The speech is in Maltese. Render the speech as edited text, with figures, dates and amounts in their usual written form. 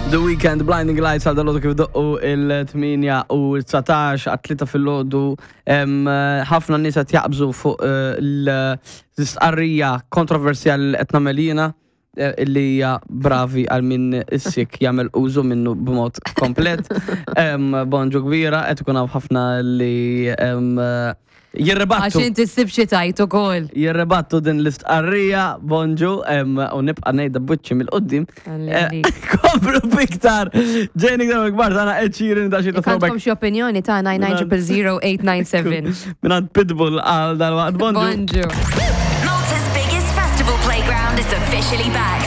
The Weekend Blinding Lights għal dal kif doqqu il-8 u 19 għat-3 fil-ħodu ħafna nies qed jaqbżu fuq eh, l-istqarrija kontroversjali li qed nagħmel jiena eh, illi hija bravi għal min is-sik jagħmel użu minnu b'mod komplet. Bonġu kbira qed ikun hawn ħafna li jirribattu. Għax inti ssib xi tajt ukoll. Jirribattu din l-istqarrija, bonġu, u nibqa' ngħidha b'wiċċi mill-qudiem. Eh, komplu biktar. Ġejni iktar kbar tagħna Ed Sheeran da xi throwback. Għandkom xi opinjoni ta' 9900897. Mingħand Pitbull għal dal-waqt bonġu. Bonġu. Malta's biggest festival playground is officially back.